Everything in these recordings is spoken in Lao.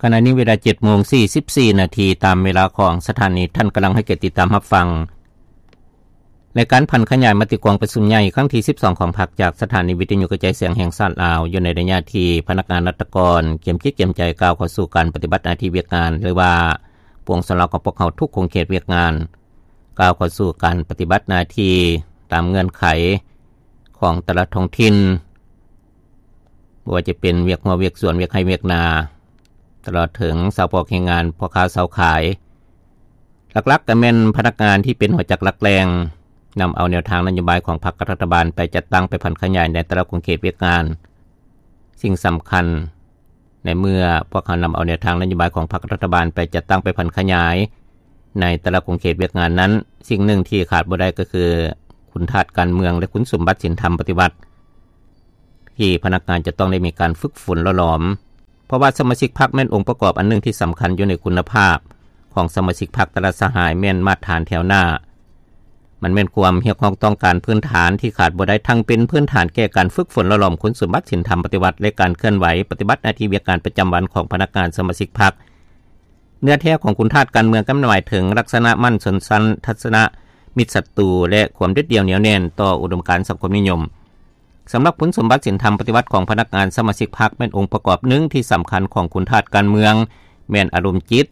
ຂະນະນີ້ເວລາເຈັດໂມງສີ່ສິບສີ່ນາທີ ຕາມເວລາຂອງສະຖານີ. ທ່ານກຳລັງໃຫ້ກຽດຕິດຕາມຮັບຟັງ ລາຍການຜັນຂະຫຍາຍມະຕິກອງປະຊຸມໃຫຍ່ຄັ້ງທີສິບສອງຂອງພັກ ຈາກສະຖານີວິທະຍຸກະຈາຍສຽງແຫ່ງຊາດລາວ ຢູ່ໃນໄລຍະທີ່ພະນັກງານລັດຖະກອນກຽມຈິດກຽມໃຈ ກ້າວເຂົ້າສູ່ການປະຕິບັດໜ້າທີ່ວຽກງານ ຫຼືວ່າປວງຊົນລາວຂອງພວກເຮົາທຸກຂົງເຂດວຽກງານ ກ້າວເຂົ້າສູ່ການປະຕິບັດໜ້າທີ່ຕາມເງື່ອນໄຂຂອງແຕ່ລະທ້ອງຖິ່ນ, ບໍ່ວ່າຈະເປັນວຽກຮົ້ວວຽກສວນ, ວຽກໄຮ່ວຽກນາ, ຕະຫຼອດເຖິງຊາວປອກແຮງງານ, ພໍ່ຄ້າຊາວຂາຍ. ຫຼັກໆກໍແມ່ນພະນັກງານທີ່ເປັນຫົວຈັກຫຼັກແຫຼ່ງ ນຳເອົາແນວທາງນະໂຍບາຍຂອງພັກກັບລັດຖະບານໄປຈັດຕັ້ງ, ໄປຜັນຂະຫຍາຍໃນແຕ່ລະຂົງເຂດວຽກງານ. ສິ່ງສຳຄັນ ໃນເມື່ອພວກເຮົານຳເອົາແນວທາງນະໂຍບາຍຂອງພັກລັດຖະບານໄປຈັດຕັ້ງ, ໄປຜັນຂະຫຍາຍໃນແຕ່ລະຂົງເຂດວຽກງານນັ້ນ, ສິ່ງໜຶ່ງທີ່ຂາດບໍ່ໄດ້ກໍຄືຄຸນທາດການເມືອງ ແລະ ຄຸນສົມບັດສິນທຳປະຕິວັດ ທີ່ພະນັກງານຈະຕ້ອງໄດ້ມີການຝຶກຝົນຫຼໍ່ຫຼອມ, ເພາະວ່າສະມາຊິກພັກແມ່ນອົງປະກອບອັນໜຶ່ງທີ່ສຳຄັນຢູ່ໃນຄຸນນະພາບຂອງສະມາຊິກພັກແຕ່ລະສະຫາຍ, ແມ່ນມາດຖານແຖວໜ້າ. ມັນແມ່ນຄວາມຮຽກຮ້ອງຕ້ອງການພື້ນຖານທີ່ຂາດບໍ່ໄດ້, ທັງເປັນພື້ນຖານແກ່ການຝຶກຝົນຫຼໍ່ຫຼອມຄຸນສົມບັດສິນທຳປະຕິວັດ ແລະ ການເຄື່ອນໄຫວປະຕິບັດໜ້າທີ່ວຽກງານປະຈຳວັນຂອງພະນັກງານສະມາຊິກພັກ. ເນື້ອແທ້ຂອງຄຸນທາດການເມືອງກໍໝາຍເຖິງລັກສະນະໝັ້ນຊົນຊັ້ນ, ທັດສະນະມິດສັດຕູ ແລະ ຄວາມເດັດດ່ຽວໜຽວແໜ້ນຕໍ່ອຸດົມການສັງຄົມນິຍົມ. ສຳລັບຄຸນສົມບັດສິນທຳປະຕິວັດຂອງພະນັກງານສະມາຊິກພັກ ແມ່ນອົງປະກອບໜຶ່ງທີ່ສຳຄັນຂອງຄຸນທາດການເມືອງ, ແມ່ນອາລົມຈິດ,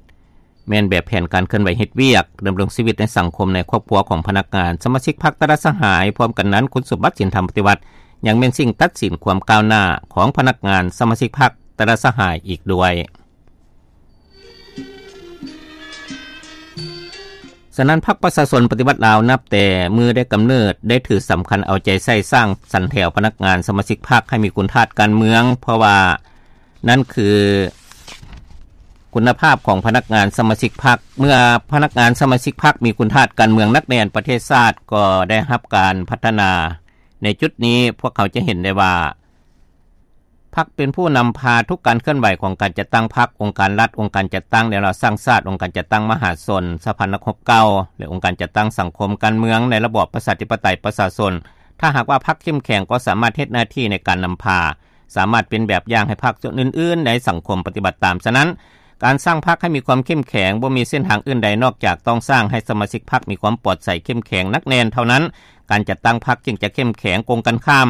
ແມ່ນແບບແຜນການເຄື່ອນໄຫວເຮັດວຽກ, ດຳລົງຊີວິດໃນສັງຄົມ, ໃນຄອບຄົວຂອງພະນັກງານສະມາຊິກພັກແຕ່ລະສະຫາຍ. ພ້ອມກັນນັ້ນ, ຄຸນສົມບັດສິນທຳປະຕິວັດຍັງແມ່ນສິ່ງຕັດສິນຄວາມກ້າວໜ້າຂອງພະນັກງານສະມາຊິກພັກແຕ່ລະສະຫາຍອີກດ້ວຍ. ສະນັ້ນ, ພັກປະຊາຊົນປະຕິວັດລາວ ນັບແຕ່ມື້ໄດ້ກຳເນີດ ໄດ້ຖືສຳຄັນເອົາໃຈໃສ່ສ້າງສັນແຖວພະນັກງານສະມາຊິກພັກໃຫ້ມີຄຸນທາດການເມືອງ, ເພາະວ່ານັ້ນຄືຄຸນນະພາບຂອງພະນັກງານສະມາຊິກພັກ. ເມື່ອພະນັກງານສະມາຊິກພັກມີຄຸນທາດການເມືອງໜັກແໜ້ນ, ປະເທດຊາດກໍໄດ້ຮັບການພັດທະນາ. ໃນຈຸດນີ້, ພວກເຮົາຈະເຫັນໄດ້ວ່າ ພັກເປັນຜູ້ນຳພາທຸກການເຄື່ອນໄຫວຂອງການຈັດຕັ້ງພັກ, ອົງການລັດ, ອົງການຈັດຕັ້ງແນວລາວສ້າງຊາດ, ອົງການຈັດຕັ້ງມະຫາຊົນ, ສະພານັກຮົບເກົ່າ ແລະ ອົງການຈັດຕັ້ງສັງຄົມການເມືອງໃນລະບອບປະຊາທິປະໄຕປະຊາຊົນ. ຖ້າຫາກວ່າພັກເຂັ້ມແຂງ ກໍສາມາດເຮັດໜ້າທີ່ໃນການນຳພາ, ສາມາດເປັນແບບຢ່າງໃຫ້ພັກສ່ວນອື່ນໆໃນສັງຄົມປະຕິບັດຕາມ. ສະນັ້ນ, ການສ້າງພັກໃຫ້ມີຄວາມເຂັ້ມແຂງ ບໍ່ມີເສັ້ນທາງອື່ນໃດນອກຈາກຕ້ອງສ້າງໃຫ້ສະມາຊິກພັກມີຄວາມປອດໃສເຂັ້ມແຂງໜັກແໜ້ນເທົ່ານັ້ນ, ການຈັດຕັ້ງພັກຈຶ່ງຈະເຂັ້ມແຂງ. ກົງກັນຂ້າມ,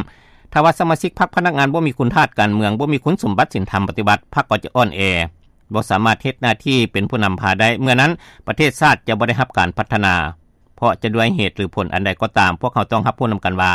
ຖ້າວ່າສະມາຊິກພັກພະນັກງານບໍ່ມີຄຸນທາດການເມືອງ, ບໍ່ມີຄຸນສົມບັດສິນທຳປະຕິວັດ, ພັກກໍຈະອ່ອນແອ, ບໍ່ສາມາດເຮັດໜ້າທີ່ເປັນຜູ້ນຳພາໄດ້. ເມື່ອນັ້ນ, ປະເທດຊາດຈະບໍ່ໄດ້ຮັບການພັດທະນາ, ເພາະຈະດ້ວຍເຫດຫຼືຜົນອັນໃດກໍຕາມ, ພວກເຮົາຕ້ອງຮັບຮູ້ນຳກັນວ່າ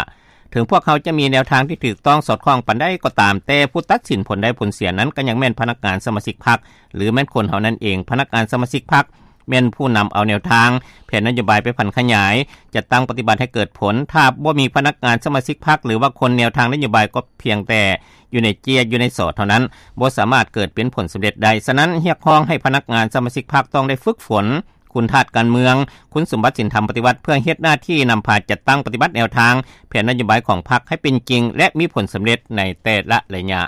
ເຖິງພວກເຮົາຈະມີແນວທາງທີ່ຖືກຕ້ອງສອດຄ່ອງປານໃດກໍຕາມ, ແຕ່ຜູ້ຕັດສິນຜົນໄດ້ຜົນເສຍນັ້ນກໍຍັງແມ່ນພະນັກງານສະມາຊິກພັກ ຫຼື ແມ່ນຄົນເຮົານັ້ນເອງ. ພະນັກງານສະມາຊິກພັກ ແມ່ນຜູ້ນຳເອົາແນວທາງ, ແຜນນະໂຍບາຍໄປຜັນຂະຫຍາຍ, ຈັດຕັ້ງປະຕິບັດໃຫ້ເກີດຜົນ. ຖ້າບໍ່ມີພະນັກງານສະມາຊິກພັກ ຫຼືວ່າຄົນແນວທາງນະໂຍບາຍ ກໍພຽງແຕ່ຢູ່ໃນເຈ້ຍ ຢູ່ໃນສໍເທົ່ານັ້ນ, ບໍ່ສາມາດເກີດເປັນຜົນສຳເລັດໄດ້. ສະນັ້ນ, ຮຽກຮ້ອງໃຫ້ພະນັກງານສະມາຊິກພັກຕ້ອງໄດ້ຝຶກຝົນຄຸນທາດການເມືອງ, ຄຸນສົມບັດສິນທຳປະຕິວັດ ເພື່ອເຮັດໜ້າທີ່ນຳພາຈັດຕັ້ງປະຕິບັດແນວທາງ, ແຜນນະໂຍບາຍຂອງພັກໃຫ້ເປັນຈິງ ແລະ ມີຜົນສຳເລັດໃນແຕ່ລະໄລຍະ.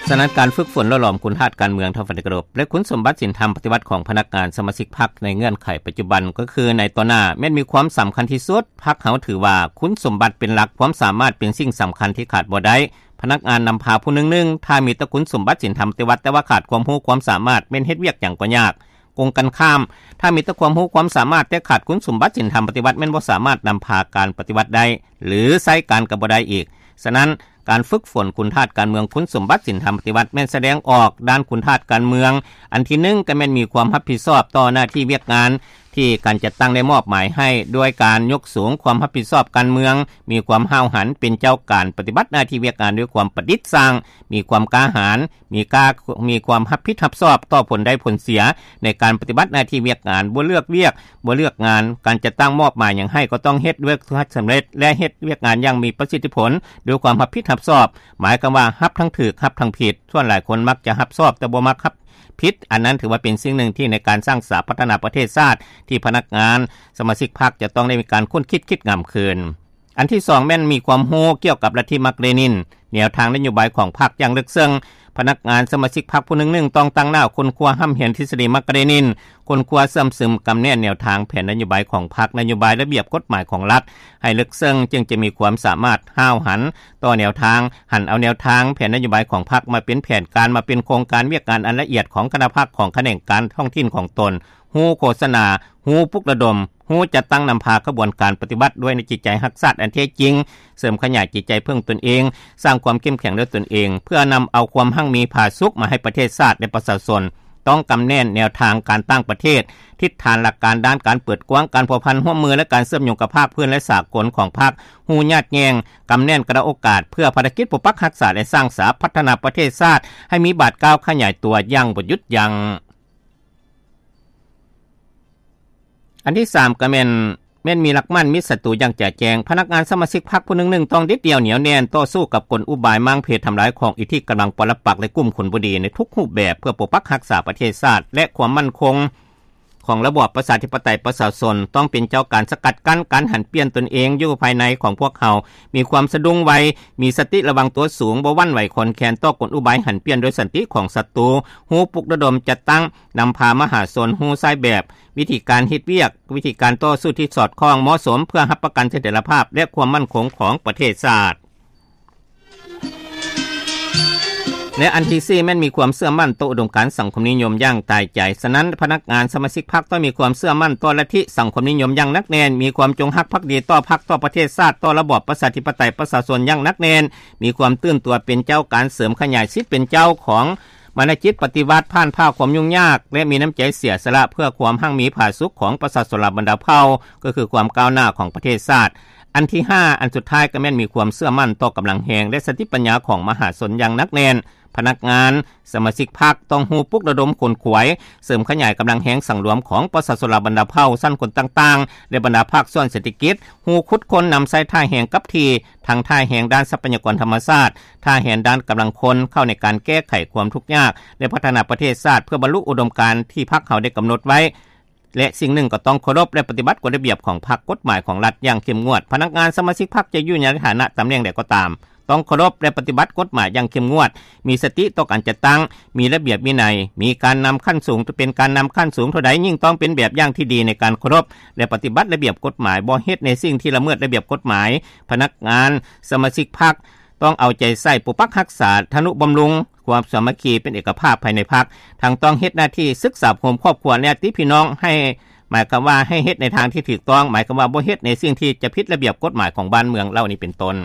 ສະນັ້ນ, ການຝຶກຝົນຫຼໍ່ຫຼອມຄຸນທາດການເມືອງ, ທ່ານທີ່ເຄົາລົບ, ແລະ ຄຸນສົມບັດສິນທຳປະຕິວັດຂອງພະນັກງານສະມາຊິກພັກໃນເງື່ອນໄຂປັດຈຸບັນ, ກໍຄືໃນຕໍ່ໜ້າ ແມ່ນມີຄວາມສຳຄັນທີ່ສຸດ. ພັກເຮົາຖືວ່າຄຸນສົມບັດເປັນຫຼັກ, ຄວາມສາມາດເປັນສິ່ງສຳຄັນທີ່ຂາດບໍ່ໄດ້. ພະນັກງານນຳພາຜູ້ໜຶ່ງໜຶ່ງ, ຖ້າມີແຕ່ຄຸນສົມບັດສິນທຳປະຕິວັດ, ແຕ່ວ່າຂາດຄວາມຮູ້ຄວາມສາມາດ, ແມ່ນເຮັດວຽກຫຍັງກໍຍາກ. ກົງກັນຂ້າມ, ຖ້າມີແຕ່ຄວາມຮູ້ຄວາມສາມາດ ແຕ່ຂາດຄຸນສົມບັດສິນທຳປະຕິວັດ, ແມ່ນບໍ່ສາມາດນຳພາການປະຕິວັດໄດ້ ຫຼື ໃຊ້ການກໍບໍ່ໄດ້ອີກ. ສະນັ້ນ, ການຝຶກຝົນຄຸນທາດການເມືອງ, ຄຸນສົມບັດສິນທຳປະຕິວັດ ແມ່ນສະແດງອອກດ້ານຄຸນທາດການເມືອງ. ອັນທີໜຶ່ງ, ກໍແມ່ນມີຄວາມຮັບຜິດຊອບຕໍ່ໜ້າທີ່ວຽກງານທີ່ການຈັດຕັ້ງໄດ້ມອບໝາຍໃຫ້, ດ້ວຍການຍົກສູງຄວາມຮັບຜິດຊອບການເມືອງ, ມີຄວາມຫ້າວຫັນເປັນເຈົ້າການປະຕິບັດໜ້າທີ່ວຽກງານດ້ວຍຄວາມປະດິດສ້າງ, ມີຄວາມກ້າຫານ, ມີກ້າ, ມີຄວາມຮັບຜິດຮັບຊອບຕໍ່ຜົນໄດ້ຜົນເສຍໃນການປະຕິບັດໜ້າທີ່ວຽກງານ, ບໍ່ເລືອກວຽກ, ບໍ່ເລືອກງານ, ການຈັດຕັ້ງມອບໝາຍຫຍັງໃຫ້ກໍຕ້ອງເຮັດດ້ວຍຄວາມສຳເລັດ ແລະ ເຮັດວຽກງານຢ່າງມີປະສິດທິຜົນ ດ້ວຍຄວາມຮັບຜິດຮັບຊອບ, ໝາຍຄວາມວ່າຮັບທັງຖືກ, ຮັບທັງຜິດ. ສ່ວນຫຼາຍຄົນມັກຈະຮັບຊອບແຕ່ບໍ່ມັກຮັບຜິດ, ອັນນັ້ນຖືວ່າເປັນສິ່ງໜຶ່ງທີ່ໃນການສ້າງສາພັດທະນາປະເທດຊາດ ທີ່ພະນັກງານສະມາຊິກພັກຈະຕ້ອງໄດ້ມີການຄົ້ນຄິດຄິດງາມຄືນ. ອັນທີສອງ ແມ່ນມີຄວາມຮູ້ກ່ຽວກັບລັດທິມາກເລນິນ, ແນວທາງນະໂຍບາຍຂອງພັກຢ່າງເລິກເຊິ່ງ, ພະນັກງານສະມາຊິກພັກຜູ້ໜຶ່ງໆ ຕ້ອງຕັ້ງໜ້າຄົ້ນຄວ້າຮ່ຳຮຽນທິດສະດີມາກກາເຣນິນ, ຄົ້ນຄວ້າເຊື່ອມຊຶມກຳແໜ້ນແນວທາງແຜນນະໂຍບາຍຂອງພັກ, ນະໂຍບາຍລະບຽບກົດໝາຍຂອງລັດໃຫ້ເລິກເຊິ່ງ, ຈຶ່ງຈະມີຄວາມສາມາດຫ້າວຫັນຕໍ່ແນວທາງ, ຫັນເອົາແນວທາງແຜນນະໂຍບາຍຂອງພັກມາເປັນແຜນການ, ມາເປັນໂຄງການວຽກງານອັນລະອຽດຂອງຄະນະພັກ, ຂອງຂະແໜງການທ້ອງຖິ່ນຂອງຕົນ, ຮູ້ໂຄສະນາ, ຮູ້ປຸກລະດົມ, ຮູ້ຈັດຕັ້ງນຳພາຂະບວນການປະຕິວັດດ້ວຍໃນຈິດໃຈຮັກຊາດອັນແທ້ຈິງ, ເສີມຂະຫຍາຍຈິດໃຈເພິ່ງຕົນເອງ, ສ້າງຄວາມເຂັ້ມແຂງດ້ວຍຕົນເອງ, ເພື່ອນຳເອົາຄວາມຮັ່ງມີຜາສຸກມາໃຫ້ປະເທດຊາດ ແລະ ປະຊາຊົນ. ຕ້ອງກຳແໜ້ນແນວທາງການຕ່າງປະເທດ, ທິດຖານຫຼັກການດ້ານການເປີດກວ້າງ, ການພົວພັນຮ່ວມມື ແລະ ການເຊື່ອມໂຍງກັບພາກພື້ນ ແລະ ສາກົນຂອງພັກ, ຮູ້ຍາດແຍ່ງ, ກຳແໜ້ນກະລະໂອກາດ ເພື່ອພາລະກິດປົກປັກຮັກສາ ແລະ ສ້າງສາພັດທະນາປະເທດຊາດໃຫ້ມີບາດກ້າວຂະຫຍາຍຕົວຢ່າງບໍ່ຢຸດຢັ້ງ. ອັນທີສາມ ກໍແມ່ນ ແມ່ນມີຫຼັກໝັ້ນມິດສັດຕູຢ່າງຈະແຈ້ງ. ພະນັກງານສະມາຊິກພັກຜູ້ໜຶ່ງໆ ຕ້ອງເດັດດ່ຽວໜຽວແໜ້ນຕໍ່ສູ້ກັບກົນອຸບາຍມ້າງເພທຳລາຍຂອງອິດທິກຳລັງປະລະປັກ ແລະ ກຸ່ມຄົນບໍ່ດີໃນທຸກຮູບແບບ ເພື່ອປົກປັກຮັກສາປະເທດຊາດ ແລະ ຄວາມໝັ້ນຄົງຂອງລະບອບປະຊາທິປະໄຕປະຊາຊົນ. ຕ້ອງເປັນເຈົ້າການສະກັດກັ້ນການຫັນປ່ຽນຕົນເອງຢູ່ພາຍໃນຂອງພວກເຮົາ, ມີຄວາມສະດຸ້ງໄວ, ມີສະຕິລະວັງຕົວສູງ, ບໍ່ຫວັ່ນໄຫວຄອນແຄນຕໍ່ກົນອຸບາຍຫັນປ່ຽນໂດຍສັນຕິຂອງສັດຕູ, ຮູ້ປຸກລະດົມຈັດຕັ້ງ ນຳພາມະຫາຊົນຮູ້ຊາຍແບບ, ວິທີການເຮັດວຽກ, ວິທີການຕໍ່ສູ້ທີ່ສອດຄ່ອງເໝາະສົມ ເພື່ອຮັບປະກັນສະຖຽນລະພາບ ແລະ ຄວາມໝັ້ນຄົງຂອງປະເທດຊາດ. ແລະ ອັນທີສີ່ ແມ່ນມີຄວາມເຊື່ອໝັ້ນຕໍ່ອຸດົມການສັງຄົມນິຍົມຢ່າງຕາຍໃຈ. ສະນັ້ນ, ພະນັກງານສະມາຊິກພັກຕ້ອງມີຄວາມເຊື່ອໝັ້ນຕໍ່ລັດທິສັງຄົມນິຍົມຢ່າງໜັກແໜ້ນ, ມີຄວາມຈົງຮັກພັກດີຕໍ່ພັກ, ຕໍ່ປະເທດຊາດ, ຕໍ່ລະບອບປະຊາທິປະໄຕປະຊາຊົນຢ່າງໜັກແໜ້ນ, ມີຄວາມຕື່ນຕົວເປັນເຈົ້າການເສີມຂະຫຍາຍສິດເປັນເຈົ້າຂອງ ມານະຈິດປະຕິວັດຜ່ານຜ່າຄວາມຫຍຸ້ງຍາກ ແລະ ມີນ້ຳໃຈເສຍສະຫຼະເພື່ອຄວາມຮັ່ງມີຜາສຸກຂອງປະຊາຊົນລາວບັນດາເຜົ່າ, ກໍຄືຄວາມກ້າວໜ້າຂອງປະເທດຊາດ. ອັນທີຫ້າ ອັນສຸດທ້າຍກໍແມ່ນມີຄວາມເຊື່ອໝັ້ນຕໍ່ກຳລັງແຮງ ແລະ ສະຕິປັນຍາຂອງມະຫາຊົນຢ່າງໜັກແໜ້ນ. ພະນັກງານ, ສະມາຊິກພັກຕ້ອງຮູ້ປຸກລະດົມຂົນຂວາຍ, ເສີມຂະຫຍາຍກຳລັງແຮງສັງລວມຂອງປະຊາຊົນລາວບັນດາເຜົ່າ, ຊັ້ນຄົນຕ່າງໆ ແລະ ບັນດາພາກສ່ວນເສດຖະກິດ, ຮູ້ຂຸດຄົ້ນນຳໃຊ້ທ່າແຮງກັບທີ່, ທັງທ່າແຮງດ້ານຊັບພະຍາກອນທຳມະຊາດ, ທ່າແຮງດ້ານກຳລັງຄົນ ເຂົ້າໃນການແກ້ໄຂຄວາມທຸກຍາກ ແລະ ພັດທະນາປະເທດຊາດ ເພື່ອບັນລຸອຸດົມການທີ່ພັກເຮົາໄດ້ກຳນົດໄວ້ ແລະ ສິ່ງໜຶ່ງກໍຕ້ອງເຄົາລົບ ແລະ ປະຕິບັດກົດລະບຽບຂອງພັກ, ກົດໝາຍຂອງລັດຢ່າງເຂັ້ມງວດ. ພະນັກງານສະມາຊິກພັກຈະຢູ່ໃນຖານະຕຳແໜ່ງໃດກໍຕາມ, ຕ້ອງເຄົາລົບ ແລະ ປະຕິບັດກົດໝາຍຢ່າງເຂັ້ມງວດ, ມີສະຕິຕໍ່ການຈັດຕັ້ງ, ມີລະບຽບວິໄນ, ມີການນຳຂັ້ນສູງ, ເປັນການນຳຂັ້ນສູງເທົ່າໃດ, ຍິ່ງຕ້ອງເປັນແບບຢ່າງທີ່ດີໃນການເຄົາລົບ ແລະ ປະຕິບັດລະບຽບກົດໝາຍ, ບໍ່ເຮັດໃນສິ່ງທີ່ລະເມີດລະບຽບກົດໝາຍ. ພະນັກງານສະມາຊິກພັກ ຕ້ອງເອົາໃຈໃສ່ປົກປັກຮັກສາ, ທະນຸບຳລຸງຄວາມສາມັກຄີເປັນເອກະພາບພາຍໃນພັກ, ທັງຕ້ອງເຮັດໜ້າທີ່ສຶກສາໂຮມຄອບຄົວ ແລະ ຍາດຕິພີ່ນ້ອງໃຫ້, ໝາຍຄວາມວ່າໃຫ້ເຮັດໃນທາງທີ່ຖືກຕ້ອງ, ໝາຍຄວາມວ່າບໍ່ເຮັດໃນສິ່ງທີ່ຈະຜິດລະບຽບກົດໝາຍຂອງບ້ານເມືອງເຫຼົ່ານີ້ເປັນຕົ້ນ.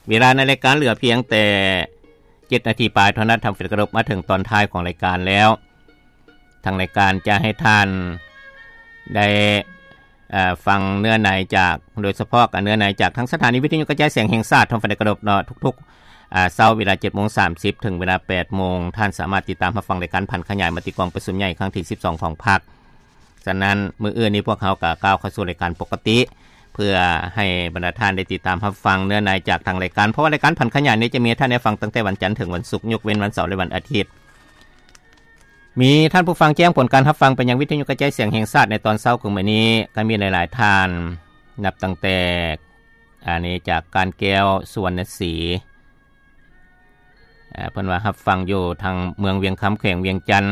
ເວລາໃນລາຍການເຫຼືອພຽງແຕ່ເຈັດນາທີປາຍເທົ່ານັ້ນ, ທ່ານທີ່ເຄົາລົບ, ມາເຖິງຕອນທ້າຍຂອງລາຍການແລ້ວ. ທາງລາຍການຈະໃຫ້ທ່ານໄດ້ ເອີ ຟັງເນື້ອໃນຈາກ, ໂດຍສະເພາະກໍເນື້ອໃນຈາກທາງສະຖານີວິທະຍຸກະຈາຍສຽງແຫ່ງຊາດ ທ່ານໄດ້ເຄົາລົບເນາະ, ທຸກໆ ອາ ເຊົ້າເວລາເຈັດໂມງສາມສິບ ເຖິງເວລາແປດໂມງ, ທ່ານສາມາດຕິດຕາມຮັບຟັງລາຍການຜັນຂະຫຍາຍມະຕິກອງປະຊຸມໃຫຍ່ຄັ້ງທີສິບສອງຂອງພັກ. ສະນັ້ນ, ມື້ອື່ນນີ້ພວກເຮົາກໍກ້າວເຂົ້າສູ່ລາຍການປົກກະຕິ ເພື່ອໃຫ້ບັນດາທ່ານໄດ້ຕິດຕາມຮັບຟັງເນື້ອໃນຈາກທາງລາຍການ, ເພາະວ່າລາຍການຜັນຂະຫຍາຍນີ້ຈະມີໃຫ້ທ່ານໄດ້ຟັງຕັ້ງແຕ່ວັນຈັນເຖິງວັນສຸກ, ຍົກເວັ້ນວັນເສົາ ແລະ ວັນອາທິດ. ມີທ່ານຜູ້ຟັງແຈ້ງຜົນການຮັບຟັງໄປຍັງວິທະຍຸກະຈາຍສຽງແຫ່ງຊາດໃນຕອນເຊົ້າຂອງມື້ນີ້, ກໍມີຫຼາຍໆທ່ານ, ນັບຕັ້ງແຕ່ ອັນນີ້ຈາກການແກ້ວ ສຸວັນນະສີ, ເພິ່ນວ່າຮັບຟັງຢູ່ທາງເມືອງວຽງຄຳ ແຂວງວຽງຈັນ,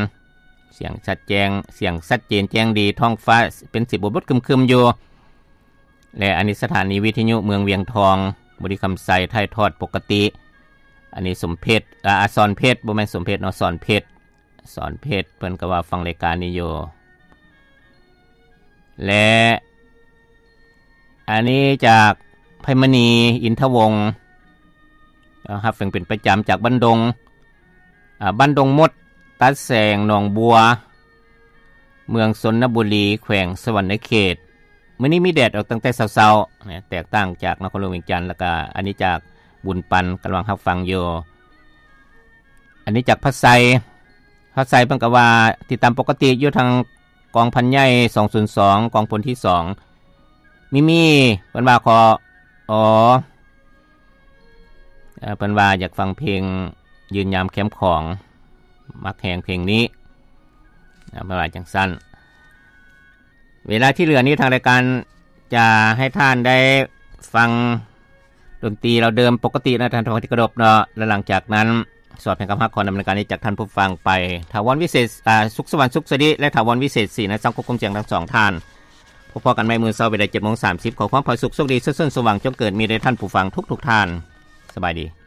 ສຽງຊັດແຈ້ງ, ສຽງຊັດເຈນແຈ້ງດີ, ທ້ອງຟ້າເປັນສີບົດໆຄຶມໆຢູ່. ແລະ ອັນນີ້ສະຖານີວິທະຍຸເມືອງວຽງທອງ, ບໍລິຄຳໄຊ ຖ່າຍທອດປົກກະຕິ. ອັນນີ້ສົມເພັດ, ອາ, ສອນເພັດ, ບໍ່ແມ່ນສົມເພັດເນາະ, ສອນເພັດ, ສອນເພັດ, ເພິ່ນກໍວ່າຟັງລາຍການນີ້ຢູ່. ແລະ ອັນນີ້ຈາກໄພມະນີ ອິນທະວົງ, ເອົາ, ຮັບຟັງເປັນປະຈຳຈາກບ້ານດົງ, ອາ, ບ້ານດົງມົດ, ຕາແສງ, ໜອງບົວ, ເມືອງຊົນນະບູລີ, ແຂວງສະຫວັນນະເຂດ. ມື້ນີ້ມີແດດອອກຕັ້ງແຕ່ເຊົ້າໆ ນະ, ແຕກຕ່າງຈາກນະຄອນຫຼວງວຽງຈັນ. ແລ້ວກະອັນນີ້ຈາກບຸນປັນ, ກຳລັງຮັບຟັງຢູ່. ອັນນີ້ຈາກພະໄຊ, ພະໄຊເພິ່ນກໍວ່າຕິດຕາມປົກກະຕິຢູ່ທາງ ກອງພັນໃຫຍ່ສອງສູນສອງ ກອງພົນທີສອງ. ມີມີ ເພິ່ນວ່າຂໍ ອໍ ເອີ ເພິ່ນວ່າຢາກຟັງເພງຢືນຍາມແຄມຂອງ, ມັກແຮງເພງນີ້, ເພິ່ນວ່າຈັ່ງຊັ້ນ. ເວລາທີ່ເຫຼືອນີ້ທາງລາຍການຈະໃຫ້ທ່ານໄດ້ຟັງ ດົນຕີເຫຼົ່າເດີມປົກກະຕິນະ ທ່ານຜູ້ຟັງທີ່ເຄົາລົບເນາະ ແລະ ຫຼັງຈາກນັ້ນ ສອບແຫ່ງຄຳຮັກ ຂໍນຳລາຍການນີ້ຈາກທ່ານຜູ້ຟັງໄປ ຖາວອນ ວິເສດ ອ່າ ສຸກສະຫວັນ ສຸກສະດີ ແລະ ຖາວອນ ວິເສດ ສີນະສັງ ຄວບຄຸມສຽງທັງສອງທ່ານ. ພົບພໍ້ກັນໃໝ່ມື້ເຊົ້າເວລາເຈັດໂມງສາມສິບ ຂໍຄວາມພາສຸກໂຊກດີ ເຊີນສົມຫວັງຈົ່ງເກີດມີແດ່ທ່ານຜູ້ຟັງທຸກໆທ່ານ. ສະບາຍດີ.